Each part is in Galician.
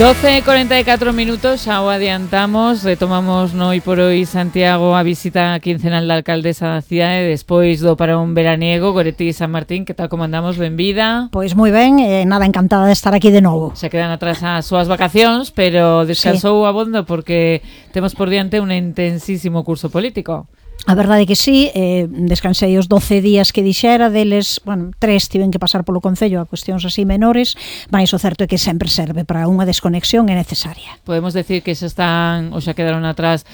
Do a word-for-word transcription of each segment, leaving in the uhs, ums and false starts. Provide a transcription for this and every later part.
doce e cuarenta e catro minutos, xa o adiantamos, retomamos no Hoy por Hoy Santiago a visita quincenal da alcaldesa da cidade despois do parón veraniego. Goretti San Martín, que tal como andamos? Benvida. Pois moi ben, eh, nada, encantada de estar aquí de novo. Se quedan atrás as súas vacacións, pero descansou sí. abondo porque temos por diante un intensísimo curso político. A verdade é que sí, eh, descansei os doce días que dixera, deles, bueno, tres tiven que pasar polo Concello a cuestións así menores, mas o certo é que sempre serve para unha desconexión é necesaria. Podemos decir que xa están, ou xa quedaron atrás,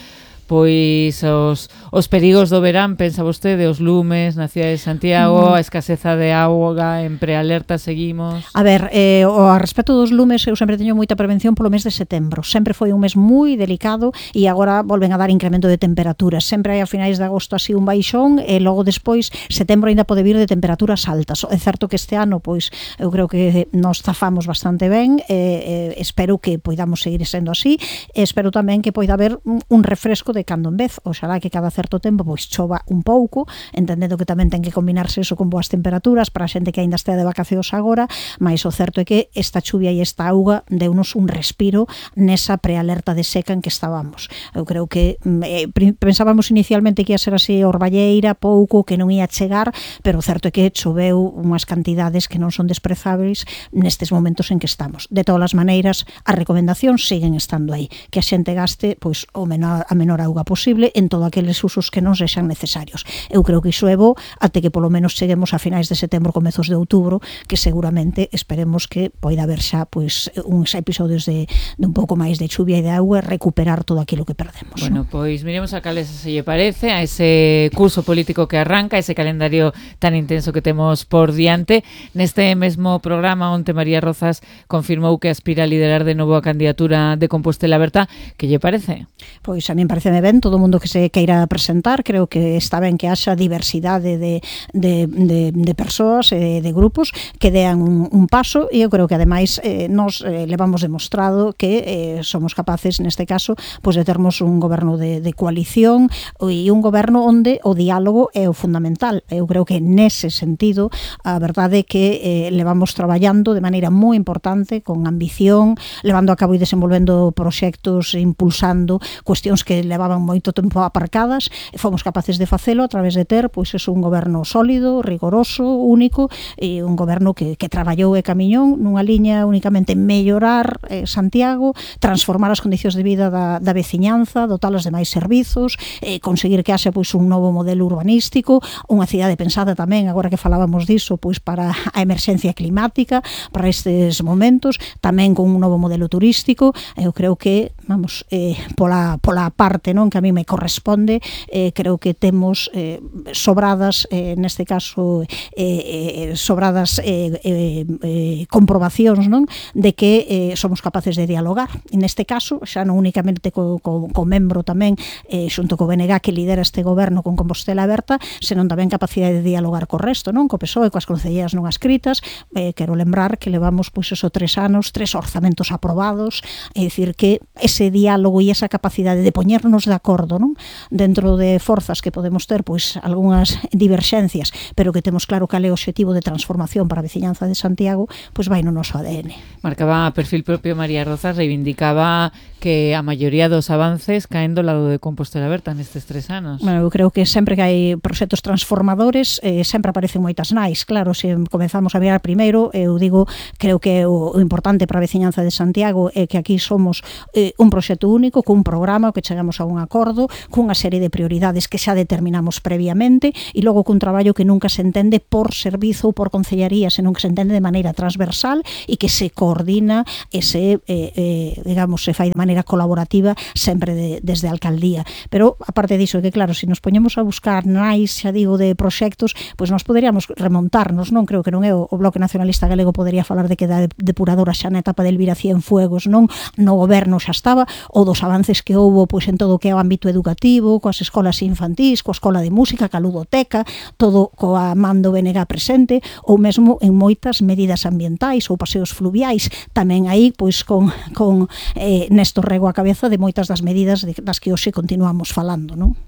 pois os, os perigos do verán, pensa vostede, os lumes na cidade de Santiago, mm. a escaseza de auga, en prealerta seguimos. A ver, eh, o a respecto dos lumes, eu sempre teño moita prevención polo mes de setembro. Sempre foi un mes moi delicado e agora volven a dar incremento de temperaturas. Sempre hai a finais de agosto así un baixón e logo despois setembro ainda pode vir de temperaturas altas. É certo que este ano, pois, eu creo que nos zafamos bastante ben, eh, eh, espero que poidamos seguir sendo así, e espero tamén que poida haber un, un refresco de cando en vez, oxalá que cada certo tempo pois chova un pouco, entendendo que tamén ten que combinarse eso con boas temperaturas para a xente que aínda estea de vacacións agora, mas o certo é que esta chuvia e esta auga deunos un respiro nesa prealerta de seca en que estábamos. Eu creo que eh, pensábamos inicialmente que ia ser así orballeira, pouco, que non ia chegar, pero o certo é que choveu unhas cantidades que non son desprezáveis nestes momentos en que estamos. De todas as maneiras, as recomendacións siguen estando aí, que a xente gaste pois o menor, a menor auga posible en todos aqueles usos que non sexan necesarios. Eu creo que iso é bo até que polo menos cheguemos a finais de setembro, comezos de outubro, que seguramente esperemos que poida haber xa pois uns episodios de, de un pouco máis de chuvia e de auga e recuperar todo aquilo que perdemos. Bueno, ¿no? Pois miremos a cales se lle parece a ese curso político que arranca, ese calendario tan intenso que temos por diante. Neste mesmo programa onte María Rozas confirmou que aspira a liderar de novo a candidatura de Compostela Aberta. Que lle parece? Pois a min parece ben, todo o mundo que se queira presentar, creo que está ben que haxa diversidade de, de, de, de persoas e de grupos que dean un, un paso, e eu creo que ademais eh, nos eh, levamos demostrado que eh, somos capaces neste caso pois de termos un goberno de, de coalición e un goberno onde o diálogo é o fundamental. Eu creo que nese sentido a verdade é que eh, levamos traballando de maneira moi importante, con ambición, levando a cabo e desenvolvendo proxectos, impulsando cuestións que levaban moito tempo aparcadas, e fomos capaces de facelo a través de ter pois es un goberno sólido, rigoroso, único, e un goberno que, que traballou e camiñou nunha liña únicamente mellorar eh, Santiago, transformar as condicións de vida da, da veciñanza, dotalas de máis servizos, eh, conseguir que haxe pois un novo modelo urbanístico, unha cidade pensada tamén, agora que falábamos diso, pois para a emerxencia climática, para estes momentos, tamén con un novo modelo turístico. Eu creo que, vamos, eh, pola, pola parte non que a mí me corresponde, eh, creo que temos eh, sobradas, eh, neste caso eh, eh, sobradas eh, eh, eh, comprobacións non de que eh, somos capaces de dialogar, e neste caso xa non únicamente co, co, co membro tamén eh, xunto co B N G que lidera este goberno con Compostela Aberta, senón tamén capacidade de dialogar co resto, non, co P S O E, coas concelleras non ascritas. Eh, quero lembrar que levamos pois esos tres anos, tres orzamentos aprobados, é dicir que ese diálogo e esa capacidade de poñernos de acordo, non, dentro de forzas que podemos ter pois algunhas diverxencias, pero que temos claro cal é o obxectivo de transformación para a veciñanza de Santiago, pois vai no noso A D N. Marcaba a perfil propio María Rozas, reivindicaba que a maioría dos avances caen do lado de Compostela Aberta nestes tres anos. Bueno, eu creo que sempre que hai proxectos transformadores eh, sempre aparecen moitas nais. Claro, se comezamos a mirar primeiro, eu digo, creo que o, o importante para a veciñanza de Santiago é que aquí somos eh, un proxecto único, cun programa que chegamos a un acordo, cunha serie de prioridades que xa determinamos previamente, e logo cun traballo que nunca se entende por servizo ou por concellaría, senón que se entende de maneira transversal e que se coordina e se, eh, eh, digamos, se fai de maneira colaborativa sempre de, desde a alcaldía. Pero, aparte diso, que claro, se nos poñemos a buscar nais, xa digo, de proxectos, pois nos poderíamos remontarnos, non? Creo que non é o, o Bloque Nacionalista Galego podería falar de que da depuradora xa na etapa del Elvira Cienfuegos, non? No goberno xa estaba, ou dos avances que houbo pois en todo o que é o ámbito educativo, coas escolas infantís, coa escola de música, ca ludoteca, todo coa mando B N G presente, ou mesmo en moitas medidas ambientais ou paseos fluviais, tamén aí pois con, con eh, Néstor Rego a cabeza de moitas das medidas de, das que hoxe continuamos falando, non?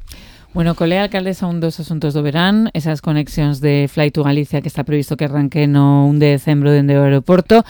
Bueno, colea alcaldesa, un dos asuntos do verán, esas conexións de Fly to Galicia que está previsto que arranque no un de decembro dende o aeroporto.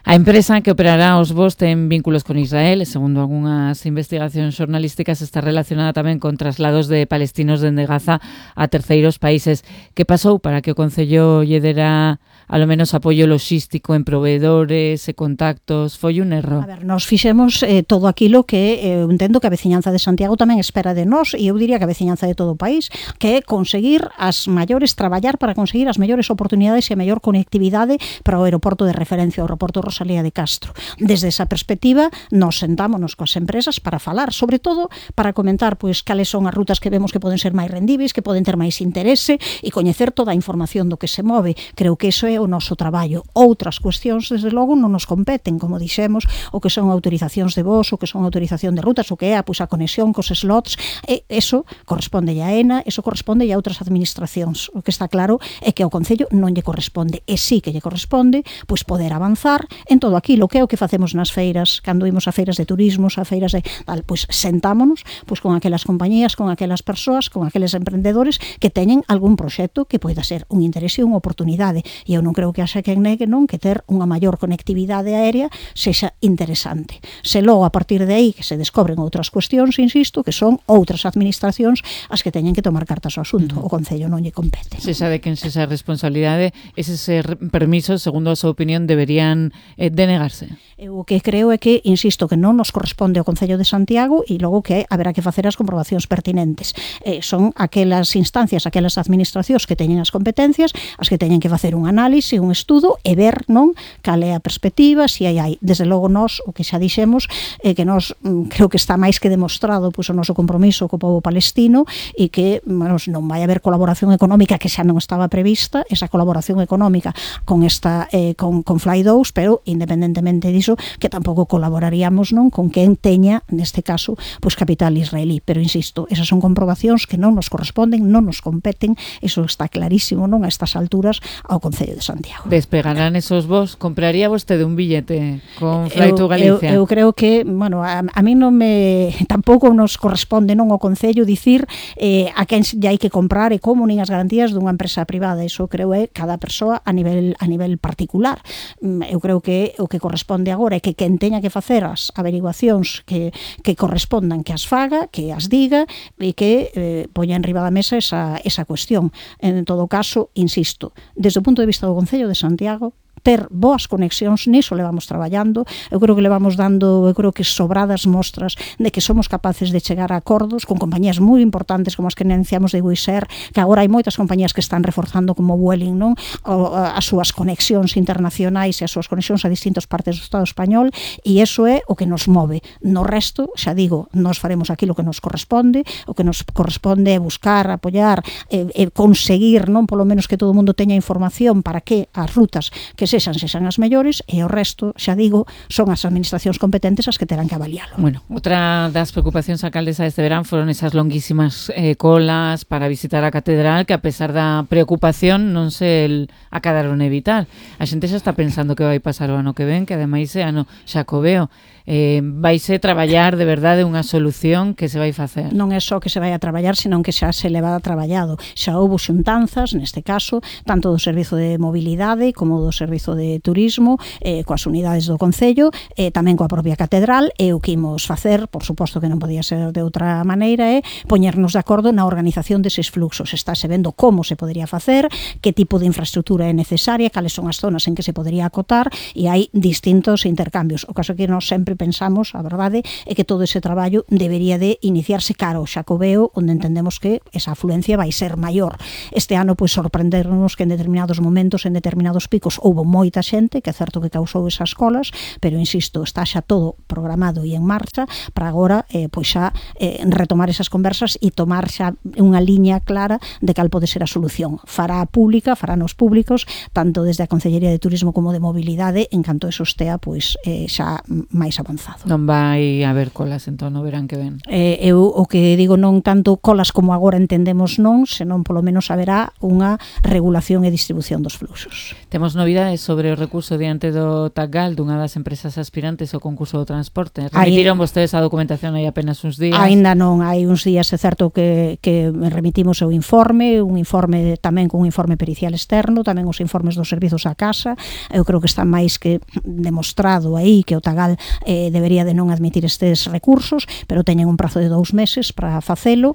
A empresa que operará os voos ten vínculos con Israel e, segundo algunhas investigacións xornalísticas, está relacionada tamén con traslados de palestinos dende Gaza a terceiros países. Que pasou para que o Concello lle dera alo menos apoio logístico en proveedores e contactos? Foi un erro? A ver, nos fixemos eh, todo aquilo que eh, eu entendo que a veciñanza de Santiago tamén espera de nós, e eu diría que a veciñanza de todo o país, que é conseguir as maiores, traballar para conseguir as mellores oportunidades e a mellor conectividade para o aeroporto de referencia, o aeroporto Rosalía de Castro. Desde esa perspectiva, nos sentámonos coas empresas para falar, sobre todo para comentar pois cales son as rutas que vemos que poden ser máis rendíveis, que poden ter máis interese, e coñecer toda a información do que se move. Creo que iso é o noso traballo. Outras cuestións, desde logo, non nos competen, como dixemos, o que son autorizacións de voos, o que son autorización de rutas, o que é pois, a conexión cos slots, e eso corresponde a ENA, eso corresponde a outras administracións. O que está claro é que ao Concello non lle corresponde, e sí que lle corresponde pois poder avanzar en todo aquilo que é o que facemos nas feiras, cando imos a feiras de turismo, a feiras de tal, pois sentámonos pois con aquelas compañías, con aquelas persoas, con aqueles emprendedores que teñen algún proxecto que poida ser un interese e unha oportunidade, e eu non creo que haxa quen negue non que ter unha maior conectividade aérea sexa interesante. Se logo a partir de aí que se descobren outras cuestións, insisto, que son outras administracións as que teñen que tomar cartas ao asunto. O Concello non lle compete. Se sabe que en esa responsabilidade, eses permisos, segundo a súa opinión, deberían eh, denegarse. Eu o que creo é que, insisto, que non nos corresponde ao Concello de Santiago, e logo que haberá que facer as comprobacións pertinentes. Eh, son aquelas instancias, aquelas administracións que teñen as competencias, as que teñen que facer un análisis, un estudo e ver non cal é a perspectiva, se hai hai. Desde logo nós, o que xa dixemos, é que nós mm, creo que está máis que demostrado pois, o noso compromiso co povo palestino, e que bueno, non vai haber colaboración económica que xa non estaba prevista, esa colaboración económica con esta eh, con, con Fly dous, pero independentemente diso, que tampouco colaboraríamos non con quen teña, neste caso, pois capital israelí. Pero insisto, esas son comprobacións que non nos corresponden, non nos competen, eso está clarísimo non a estas alturas ao Concello de Santiago. Despegarán esos voos? Compraría vostede un billete con Fly to Galicia? Eu, eu creo que, bueno, a, a mí non me tampouco nos corresponde non ao Concello dicir eh, a quen lle hai que comprar e como, nin as garantías dunha empresa privada. Iso creo é cada persoa a nivel a nivel particular. Eu creo que o que corresponde agora é que quen teña que facer as averiguacións que, que correspondan, que as faga, que as diga, e que eh, poña en riba da mesa esa, esa cuestión. En todo caso, insisto, desde o punto de vista do Concello de Santiago, ter boas conexións, niso levamos traballando, eu creo que levamos dando, eu creo que sobradas mostras de que somos capaces de chegar a acordos con compañías moi importantes como as que anunciamos de Wizz Air, que agora hai moitas compañías que están reforzando como Vueling, non? O, as súas conexións internacionais e as súas conexións a distintas partes do Estado español, e iso é o que nos move. No resto, xa digo, nos faremos aquilo que nos corresponde, o que nos corresponde é buscar, apoiar e, e conseguir, non, polo menos que todo o mundo teña información para que as rutas que sexan sexan as mellores, e o resto, xa digo, son as administracións competentes as que terán que avaliálo. Bueno, outra das preocupacións a alcaldesa este verán foron esas longuísimas eh, colas para visitar a catedral, que a pesar da preocupación non se acadaron evitar. A xente xa está pensando que vai pasar o ano que ven, que ademais é ano xacobeo. Eh, vaise traballar de verdade unha solución que se vai facer. Non é só que se vai a traballar, senón que xa se leva traballado. Xa houve xuntanzas, neste caso, tanto do Servizo de Mobilidade como do Servizo de Turismo, eh, coas unidades do Concello, eh, tamén coa propia catedral, e o que imos facer, por suposto que non podía ser de outra maneira, é poñernos de acordo na organización deses fluxos. Estáse vendo como se podería facer, que tipo de infraestructura é necesaria, cales son as zonas en que se podería acotar, e hai distintos intercambios. O caso que nós sempre pensamos, a verdade, é que todo ese traballo debería de iniciarse cara ao Xacobeo, onde entendemos que esa afluencia vai ser maior. Este ano, pois, sorprendernos que en determinados momentos, en determinados picos, houve moita xente, que é certo que causou esas colas, pero, insisto, está xa todo programado e en marcha para agora, eh, pois xa, eh, retomar esas conversas e tomar xa unha liña clara de cal pode ser a solución. Fará pública, fará nos públicos, tanto desde a Concellería de Turismo como de Mobilidade, en canto eso estea, pois, eh, xa máis avanzado. Non vai haber colas entón no verán que ven? Eh, eu o que digo, non tanto colas como agora entendemos non, senón polo menos haberá unha regulación e distribución dos fluxos. Temos novidades novidades sobre o recurso diante do TACGAL dunha das empresas aspirantes ao concurso do transporte? Remitiron vostedes a documentación hai apenas uns días? Ainda non, hai uns días, é certo que, que remitimos o informe, un informe tamén con un informe pericial externo, tamén os informes dos servizos á casa. Eu creo que está máis que demostrado aí que o TACGAL eh, debería de non admitir estes recursos, pero teñen un prazo de dous meses para facelo.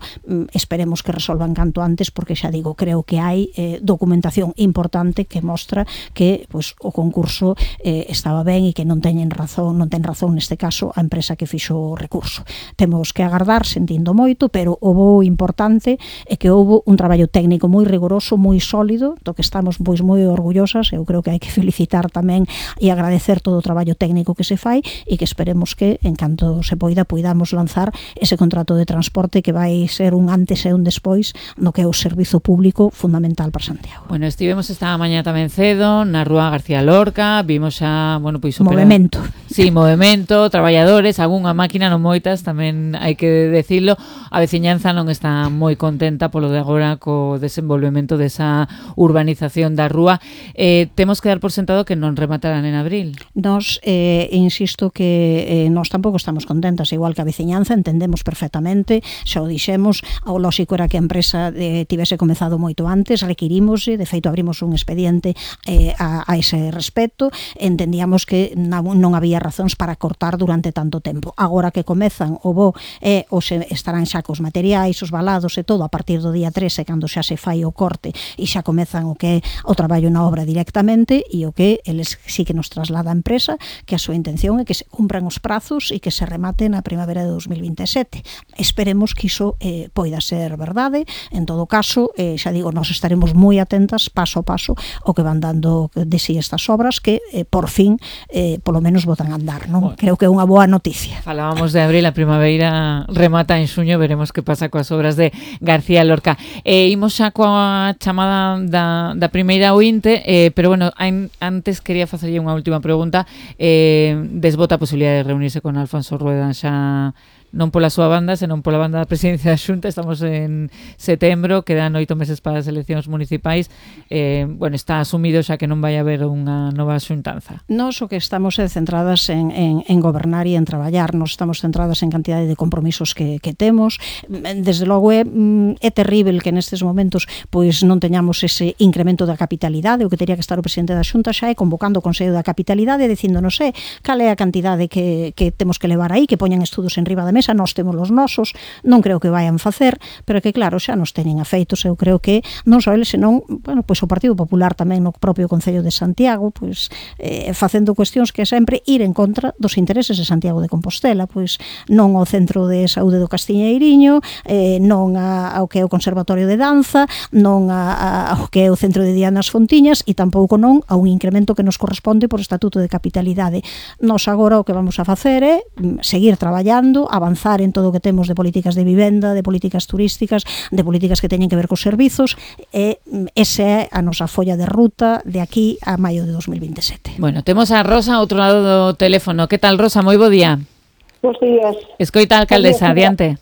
Esperemos que resolvan canto antes, porque xa digo, creo que hai eh, documentación importante que mostra que pues, o concurso eh, estaba ben e que non teñen razón, non ten razón neste caso a empresa que fixo o recurso. Temos que agardar, sentindo moito, pero o bo importante é que houve un traballo técnico moi rigoroso, moi sólido, do que estamos pois moi orgullosas. Eu creo que hai que felicitar tamén e agradecer todo o traballo técnico que se fai, e que esperemos que en canto se poida poidamos lanzar ese contrato de transporte que vai ser un antes e un despois no que é o servizo público fundamental para Santiago. Bueno, estivemos esta mañá tamén cedo na Rúa García Lorca, vimos xa, bueno, pois opera... movemento. Sí, movemento, traballadores, algunha máquina, non moitas, tamén hai que decirlo. A veciñanza non está moi contenta polo de agora co desenvolvemento desa urbanización da rúa. Eh, temos que dar por sentado que non rematarán en abril. Nos, eh, insisto que eh, nós tampouco estamos contentas, igual que a veciñanza, entendemos perfectamente, xa o dixemos, o lóxico era que a empresa eh, tivese comezado moito antes, requirimos, de feito abrimos un expediente eh, a, a ese respecto, entendíamos que non había razóns para cortar durante tanto tempo. Agora que comezan o bo eh, ou se estarán xa cos materiais, os balados e todo a partir do día trece, cando xa se fai o corte e xa comezan o que é o traballo na obra directamente, e o que eles sí que nos traslada a empresa, que a súa intención é que se cumpran os prazos e que se remate na primavera de dos mil vinte e sete. Esperemos que iso eh, poida ser verdade. En todo caso, eh, xa digo, nós estaremos moi atentas paso a paso o que van dando de si estas obras que eh, por fin eh, polo menos botan a andar, non? Bueno, creo que é unha boa noticia. Falábamos de abril, a primavera remata en xuño, veremos que pasa coas obras de García Lorca. Eh, imos xa coa chamada da, da primeira ointe, eh, pero bueno, ein, antes quería facerlle unha última pregunta. Eh, desbota a posibilidade de reunirse con Alfonso Rueda xa non pola súa banda, senón pola banda da presidencia da Xunta. Estamos en setembro, quedan oito meses para as eleccións municipais. Eh, bueno, está asumido xa que non vai haber unha nova xuntanza. Nos o que estamos é centradas en, en, en gobernar e en traballar. Nos estamos centradas en cantidade de compromisos que, que temos. Desde logo é, é terrible que nestes momentos pois non teñamos ese incremento da capitalidade. O que teria que estar o presidente da Xunta xa é convocando o Consello da Capitalidade, dicíndonos é cal é a cantidade que, que temos que levar aí, que poñan estudos en riba da mesa. Nós temos os nosos, non creo que vayan facer, pero que claro, xa nos teñen afeitos. Eu creo que non só eles, senón, bueno, pois o Partido Popular tamén no propio Concello de Santiago, pois eh, facendo cuestións que sempre ir en contra dos intereses de Santiago de Compostela, pois non ao Centro de Saúde do Castiñeiriño, eh, non a, ao que é o Conservatorio de Danza, non a, a, ao que é o Centro de Dianas Fontiñas, e tampouco non a un incremento que nos corresponde por Estatuto de Capitalidade. Nos agora o que vamos a facer é seguir traballando, avanzar en todo o que temos de políticas de vivenda, de políticas turísticas, de políticas que teñen que ver cos servizos, e esa é a nosa folla de ruta de aquí a maio de dos mil vinte e sete. Bueno, temos a Rosa ao outro lado do teléfono. Que tal, Rosa? Moi bo día. Bos días. Escoita a alcaldesa, adiante.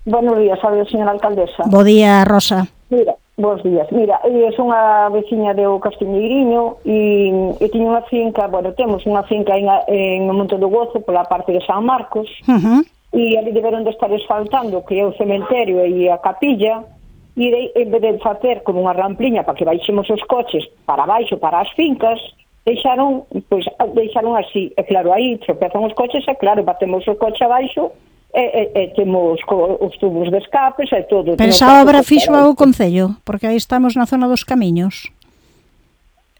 Buenos días, sabe, señora alcaldesa. Bo día, Rosa. Mira, bos días. Mira, eu son a veciña do Castiñeiriño e, e teño unha finca, bueno, temos unha finca en, en o Monte do Gozo pola parte de San Marcos. Uh-huh. E ali deberon de estar asfaltando que é o cementerio e a capilla, e de, en vez de facer como unha rampliña para que baixemos os coches para baixo, para as fincas, deixaron, pois, deixaron así, e claro, aí tropezan os coches, e claro, batemos o coche abaixo, e, e, e temos co, os tubos de escapes e todo. Pero esa obra fixo o Concello, porque aí estamos na zona dos camiños.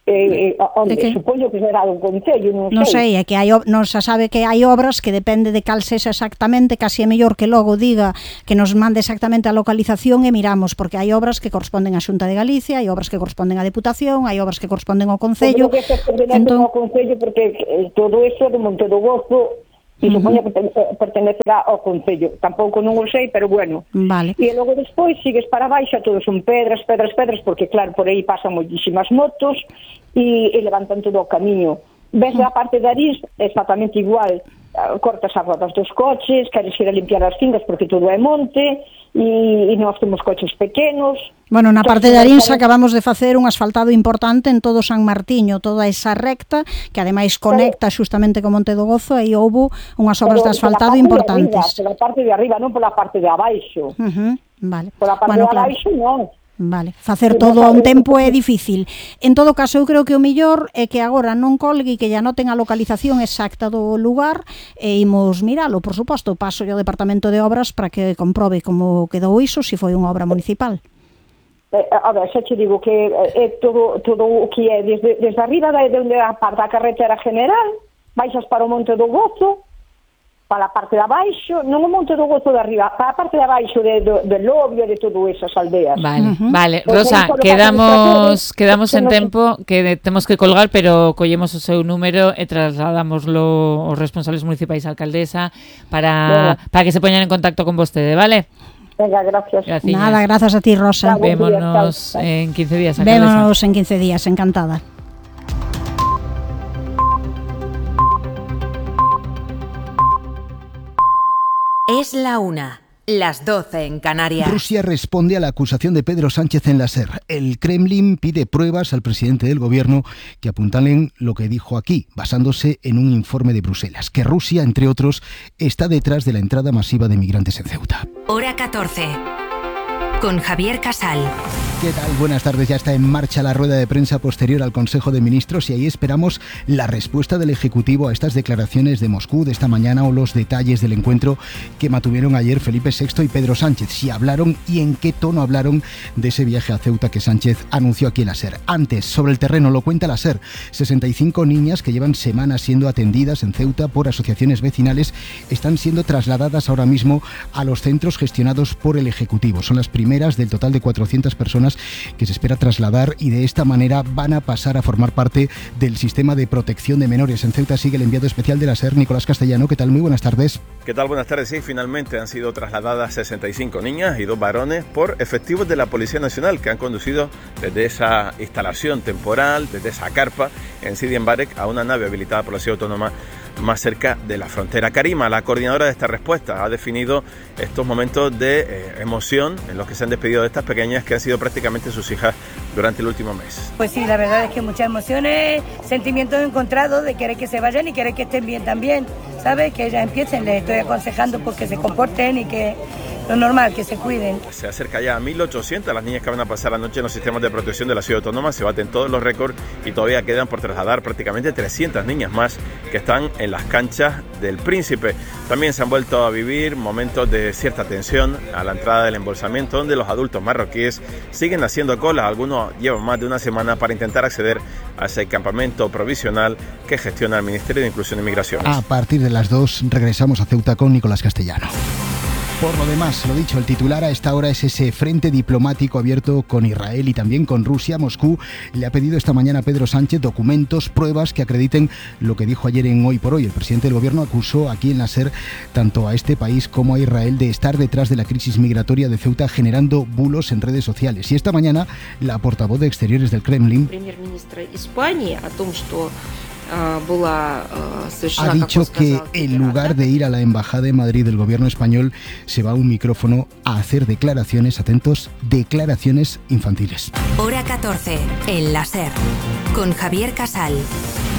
Eh, eh, onde, que? Supoño que será un concello, non sei. Non sei, é que hai, non se sabe que hai obras que depende de cal sexa exactamente, casi é mellor que logo diga que nos mande exactamente a localización e miramos, porque hai obras que corresponden á Xunta de Galicia, hai obras que corresponden á Deputación, hai obras que corresponden ao Concello. Creo que se pertenece entón... ao Concello, porque eh, todo isto de Monte do Gozo e supoño que pertenecerá ao Concello. Tampouco non o sei, pero bueno. Vale. E logo despois sigues para baixo, todos son pedras, pedras, pedras, porque claro, por aí pasan moitísimas motos e, e levantan todo o camiño. Ves a parte de Arís exactamente igual. cortas as rodas dos coches, queres ir a limpiar as fincas porque todo é monte, e, e nós temos coches pequenos. Bueno, na parte de Arinsa acabamos de facer un asfaltado importante en todo San Martiño, toda esa recta, que ademais conecta xustamente con Monte do Gozo, e houbo unhas obras de asfaltado importantes. Pola parte de arriba, non pola parte de abaixo. Uh-huh, vale. Pola parte bueno, de abaixo, claro. non. Vale, facer todo a un tempo é difícil. En todo caso, eu creo que o mellor é que agora non colgue e que ya noten a localización exacta do lugar e imos miralo, por suposto, paso ao Departamento de Obras para que comprobe como quedou iso, se foi unha obra municipal. Eh, a ver, xa te digo que é todo, todo o que é desde, desde arriba de onde a parte da carretera general, baixas para o Monte do Gozo, para a parte de abaixo, non o Monte do Gozo de arriba, para a parte de abaixo de, de, de Lobio, de todo esas aldeas. Vale, uh-huh. vale. Rosa, quedamos quedamos en tempo que temos que colgar, pero collemos o seu número e trasladámoslo aos responsables municipais, a alcaldesa, para, bueno. para que se poñan en contacto con vostede, vale? Venga, gracias. Gracias. Nada, gracias a ti, Rosa. Claro, vémonos días, en quince días, alcaldesa. Vémonos en quince días, encantada. Es la una, las doce en Canarias. Rusia responde a la acusación de Pedro Sánchez en la SER. El Kremlin pide pruebas al presidente del gobierno que apuntalen lo que dijo aquí, basándose en un informe de Bruselas, que Rusia, entre otros, está detrás de la entrada masiva de migrantes en Ceuta. Hora catorce. Con Javier Casal. ¿Qué tal? Buenas tardes. Ya está en marcha la rueda de prensa posterior al Consejo de Ministros y ahí esperamos la respuesta del Ejecutivo a estas declaraciones de Moscú de esta mañana o los detalles del encuentro que mantuvieron ayer Felipe sexto y Pedro Sánchez. Si hablaron y en qué tono hablaron de ese viaje a Ceuta que Sánchez anunció aquí en la SER. Antes, sobre el terreno, lo cuenta la SER. sesenta y cinco niñas que llevan semanas siendo atendidas en Ceuta por asociaciones vecinales están siendo trasladadas ahora mismo a los centros gestionados por el Ejecutivo. Son las primeras del total de cuatrocientas personas que se espera trasladar y de esta manera van a pasar a formar parte del sistema de protección de menores. En Ceuta sigue el enviado especial de la SER, Nicolás Castellano. ¿Qué tal? Muy buenas tardes. ¿Qué tal? Buenas tardes. Sí, finalmente han sido trasladadas sesenta y cinco niñas y dos varones por efectivos de la Policía Nacional que han conducido desde esa instalación temporal, desde esa carpa en Sidi Embarek a una nave habilitada por la Ciudad Autónoma más cerca de la frontera. Karima, la coordinadora de esta respuesta, ha definido estos momentos de eh, emoción en los que se han despedido de estas pequeñas que han sido prácticamente sus hijas durante el último mes. Pues sí, la verdad es que muchas emociones, sentimientos encontrados de querer que se vayan y querer que estén bien también, ¿sabes? Que ellas empiecen, les estoy aconsejando pues que se comporten y que lo normal, que se cuiden. Se acerca ya a mil ochocientas las niñas que van a pasar la noche en los sistemas de protección de la Ciudad Autónoma, se baten todos los récords y todavía quedan por trasladar prácticamente trescientas niñas más que están en las canchas del Príncipe. También se han vuelto a vivir momentos de cierta tensión a la entrada del embolsamiento, donde los adultos marroquíes siguen haciendo cola. Algunos llevan más de una semana para intentar acceder a ese campamento provisional que gestiona el Ministerio de Inclusión y Migraciones. A partir de las dos regresamos a Ceuta con Nicolás Castellano. Por lo demás, lo dicho, el titular a esta hora es ese frente diplomático abierto con Israel y también con Rusia. Moscú le ha pedido esta mañana a Pedro Sánchez documentos, pruebas que acrediten lo que dijo ayer en Hoy por Hoy. El presidente del gobierno acusó aquí en la SER tanto a este país como a Israel de estar detrás de la crisis migratoria de Ceuta, generando bulos en redes sociales. Y esta mañana la portavoz de Exteriores del Kremlin ha dicho que en lugar de ir a la Embajada de Madrid del gobierno español se va a un micrófono a hacer declaraciones, atentos, declaraciones infantiles. Hora catorce, en la SER, con Javier Casal.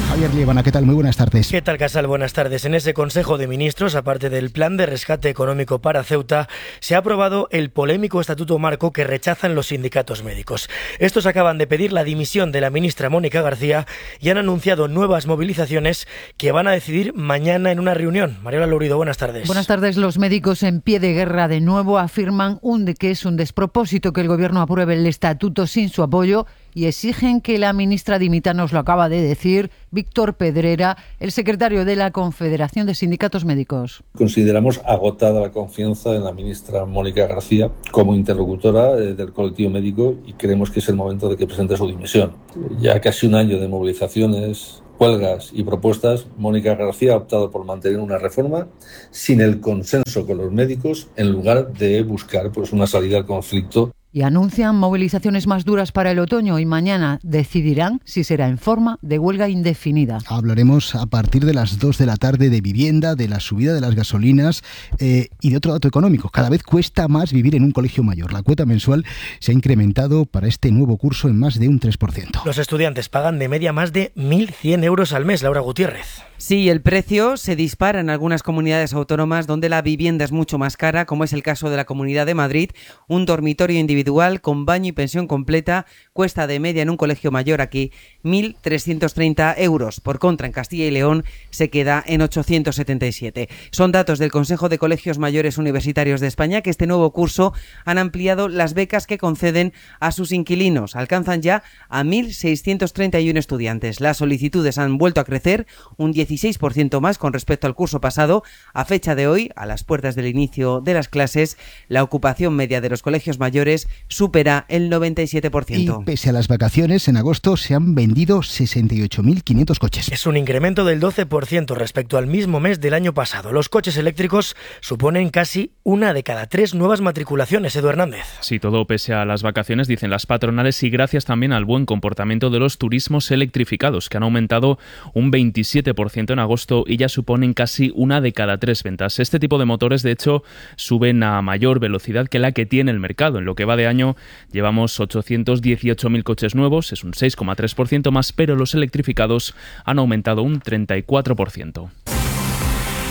Javier Liébana, ¿qué tal? Muy buenas tardes. ¿Qué tal, Casal? Buenas tardes. En ese Consejo de Ministros, aparte del plan de rescate económico para Ceuta, se ha aprobado el polémico Estatuto Marco que rechazan los sindicatos médicos. Estos acaban de pedir la dimisión de la ministra Mónica García y han anunciado nuevas movilizaciones que van a decidir mañana en una reunión. Mariola Lourido, buenas tardes. Buenas tardes. Los médicos en pie de guerra de nuevo afirman un de que es un despropósito que el gobierno apruebe el estatuto sin su apoyo y exigen que la ministra dimita. Nos lo acaba de decir Víctor Pedrera, el secretario de la Confederación de Sindicatos Médicos. Consideramos agotada la confianza en la ministra Mónica García como interlocutora del colectivo médico y creemos que es el momento de que presente su dimisión. Ya casi un año de movilizaciones, huelgas y propuestas, Mónica García ha optado por mantener una reforma sin el consenso con los médicos en lugar de buscar pues, una salida al conflicto. Y anuncian movilizaciones más duras para el otoño y mañana decidirán si será en forma de huelga indefinida. Hablaremos a partir de las dos de la tarde de vivienda, de la subida de las gasolinas eh, y de otro dato económico. Cada vez cuesta más vivir en un colegio mayor. La cuota mensual se ha incrementado para este nuevo curso en más de un tres por ciento. Los estudiantes pagan de media más de mil cien euros al mes, Laura Gutiérrez. Sí, el precio se dispara en algunas comunidades autónomas donde la vivienda es mucho más cara, como es el caso de la Comunidad de Madrid. Un dormitorio individual con baño y pensión completa cuesta de media en un colegio mayor aquí mil trescientos treinta euros. Por contra, en Castilla y León se queda en ochocientos setenta y siete. Son datos del Consejo de Colegios Mayores Universitarios de España, que este nuevo curso han ampliado las becas que conceden a sus inquilinos. Alcanzan ya a mil seiscientos treinta y uno estudiantes. Las solicitudes han vuelto a crecer un dieciséis por ciento más con respecto al curso pasado. A fecha de hoy, a las puertas del inicio de las clases, la ocupación media de los colegios mayores supera el noventa y siete por ciento. Y pese a las vacaciones, en agosto se han vendido sesenta y ocho mil quinientos coches. Es un incremento del doce por ciento respecto al mismo mes del año pasado. Los coches eléctricos suponen casi una de cada tres nuevas matriculaciones. Edu Hernández. Sí, todo pese a las vacaciones, dicen las patronales, y gracias también al buen comportamiento de los turismos electrificados, que han aumentado un veintisiete por ciento en agosto y ya suponen casi una de cada tres ventas. Este tipo de motores, de hecho, suben a mayor velocidad que la que tiene el mercado. En lo que va de año llevamos ochocientos dieciocho mil coches nuevos, es un seis coma tres por ciento más, pero los electrificados han aumentado un treinta y cuatro por ciento.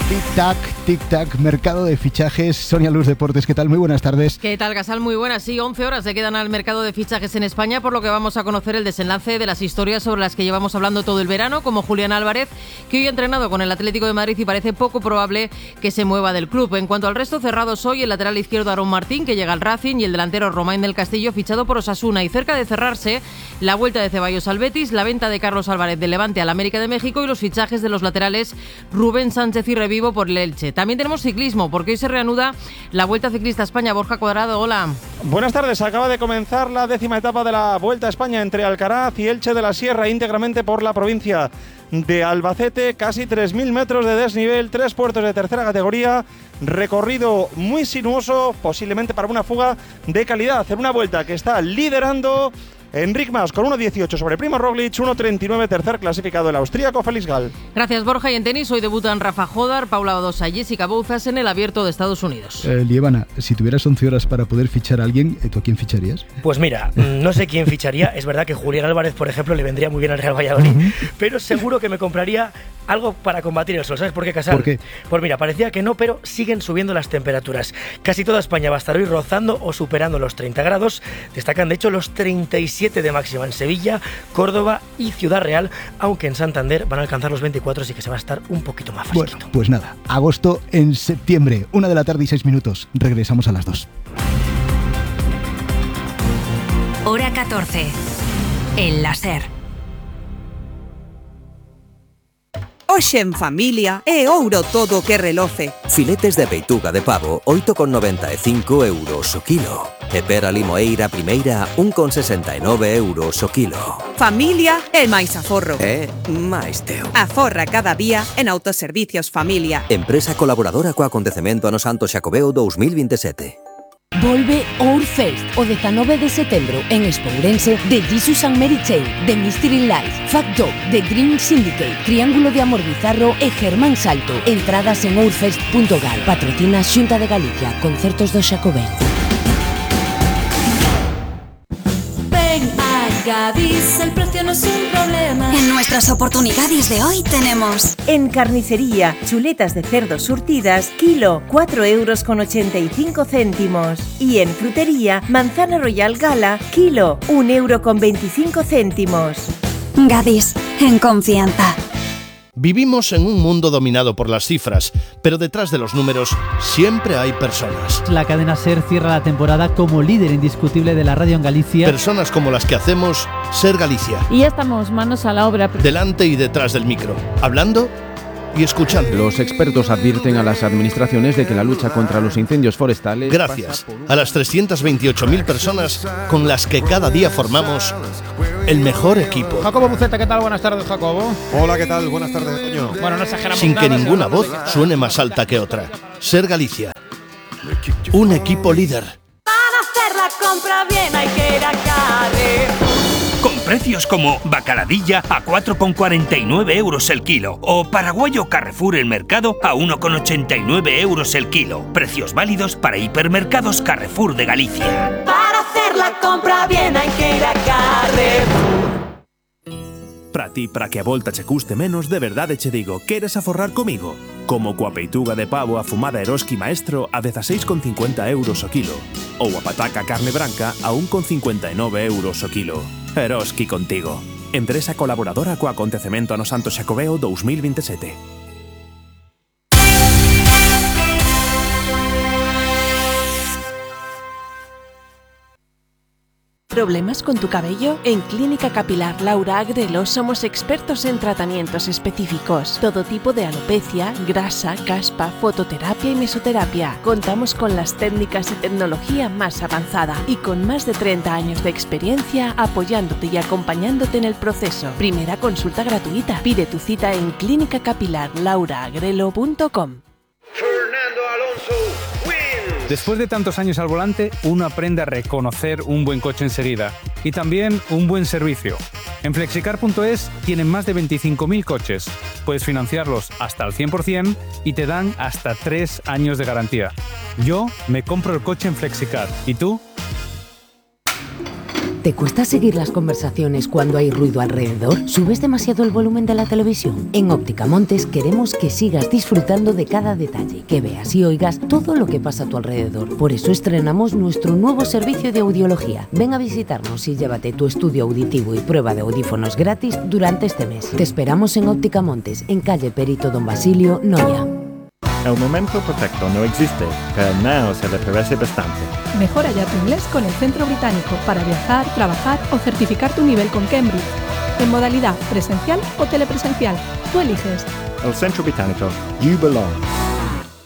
Tic-tac, tic-tac, mercado de fichajes. Sonia Luz Deportes, ¿qué tal? Muy buenas tardes. ¿Qué tal, Gasal? Muy buenas. Sí, once horas le quedan al mercado de fichajes en España, por lo que vamos a conocer el desenlace de las historias sobre las que llevamos hablando todo el verano, como Julián Álvarez, que hoy ha entrenado con el Atlético de Madrid y parece poco probable que se mueva del club. En cuanto al resto, cerrados hoy el lateral izquierdo Aarón Martín, que llega al Racing, y el delantero Romain del Castillo, fichado por Osasuna. Y cerca de cerrarse, la vuelta de Ceballos al Betis, la venta de Carlos Álvarez del Levante al América de México y los fichajes de los laterales Rubén Sánchez y Revivo por el Elche. También tenemos ciclismo, porque hoy se reanuda la Vuelta Ciclista a España. Borja Cuadrado, hola. Buenas tardes. Acaba de comenzar la décima etapa de la Vuelta a España entre Alcaraz y Elche de la Sierra, íntegramente por la provincia de Albacete. Casi tres mil metros de desnivel, tres puertos de tercera categoría, recorrido muy sinuoso, posiblemente para una fuga de calidad. En una vuelta que está liderando Enric Mas con uno dieciocho sobre Primo Roglic, uno treinta y nueve tercer clasificado el austríaco Félix Gall. Gracias, Borja. Y en tenis hoy debutan Rafa Jodar, Paula Badosa y Jessica Bouzas en el Abierto de Estados Unidos. Eh, Lievana, si tuvieras once horas para poder fichar a alguien, ¿tú a quién ficharías? Pues mira, no sé quién ficharía. Es verdad que Julián Álvarez, por ejemplo, le vendría muy bien al Real Valladolid, uh-huh. pero seguro que me compraría algo para combatir el sol. ¿Sabes por qué, Casal? ¿Por qué? Pues mira, parecía que no, pero siguen subiendo las temperaturas. Casi toda España va a estar hoy rozando o superando los treinta grados. Destacan, de hecho, los treinta y siete de máxima en Sevilla, Córdoba y Ciudad Real, aunque en Santander van a alcanzar los veinticuatro, así que se va a estar un poquito más fresquito. Bueno, pues nada, agosto en septiembre, una de la tarde y seis minutos. Regresamos a las dos. Hora catorce. El láser. Hoxe en familia é ouro todo que reloce. Filetes de peituga de pavo, oito con noventa e cinco euros o kilo. E pera limoeira primeira, un con sesenta e nove euros o kilo. Familia é máis aforro. É máis teu. Aforra cada día en Autoservicios Familia. Empresa colaboradora co acontecemento ano Santo Xacobeo dos mil veintisiete. Volve Ourfest o dezanove de setembro en Espourense de Jesus and Mary Chain, The Mystery Life, Fat Dog, The Green Syndicate, Triángulo de Amor Bizarro e Germán Salto. Entradas en ourfest punto gal. Patrocina Xunta de Galicia, Concertos do Xacobeo. Gadis, el precio no es un problema. En nuestras oportunidades de hoy tenemos en carnicería, chuletas de cerdo surtidas, kilo, cuatro euros con ochenta y cinco céntimos. Y en frutería, manzana royal gala, kilo, un euro con veinticinco céntimos. Gadis, en confianza. Vivimos en un mundo dominado por las cifras, pero detrás de los números siempre hay personas. La cadena SER cierra la temporada como líder indiscutible de la radio en Galicia. Personas como las que hacemos SER Galicia. Y ya estamos manos a la obra. Delante y detrás del micro, hablando y escuchando. Los expertos advierten a las administraciones de que la lucha contra los incendios forestales... Gracias a las trescientas veintiocho mil personas con las que cada día formamos el mejor equipo. Jacobo Buceta, ¿qué tal? Buenas tardes, Jacobo. Hola, ¿qué tal? Buenas tardes, Toño. Bueno, no exageramos Sin nada, que ninguna voz suene más alta que otra. SER Galicia. Un equipo líder. Para hacer la la compra bien hay que ir a Carrefour. Con precios como bacaladilla a cuatro con cuarenta y nueve euros el kilo o paraguayo Carrefour El Mercado a uno con ochenta y nueve euros el kilo. Precios válidos para hipermercados Carrefour de Galicia. Para hacer la compra bien hay que ir a Carrefour. Para ti, para que a volta che custe menos, de verdade che digo, queres aforrar comigo? Como coa peituga de pavo afumada Eroski Maestro a dezaseis con cincuenta euros o kilo. Ou a pataca carne branca a un con cincuenta e nove euros o kilo. Eroski contigo. Empresa colaboradora co acontecemento ano Santo Xacobeo dous mil vinte e sete. ¿Problemas con tu cabello? En Clínica Capilar Laura Agrelo somos expertos en tratamientos específicos. Todo tipo de alopecia, grasa, caspa, fototerapia y mesoterapia. Contamos con las técnicas y tecnología más avanzada y con más de treinta años de experiencia apoyándote y acompañándote en el proceso. Primera consulta gratuita. Pide tu cita en clínica capilar laura agrelo punto com. Fernando Alonso. Después de tantos años al volante, uno aprende a reconocer un buen coche enseguida y también un buen servicio. En flexicar punto es tienen más de veinticinco mil coches. Puedes financiarlos hasta al cien por ciento y te dan hasta tres años de garantía. Yo me compro el coche en Flexicar. ¿Y tú? ¿Te cuesta seguir las conversaciones cuando hay ruido alrededor? ¿Subes demasiado el volumen de la televisión? En Óptica Montes queremos que sigas disfrutando de cada detalle, que veas y oigas todo lo que pasa a tu alrededor. Por eso estrenamos nuestro nuevo servicio de audiología. Ven a visitarnos y llévate tu estudio auditivo y prueba de audífonos gratis durante este mes. Te esperamos en Óptica Montes, en calle Perito Don Basilio, Noia. El momento perfecto no existe, pero no se le parece bastante. Mejora ya tu inglés con el Centro Británico para viajar, trabajar o certificar tu nivel con Cambridge. En modalidad presencial o telepresencial. Tú eliges. El Centro Británico. You belong.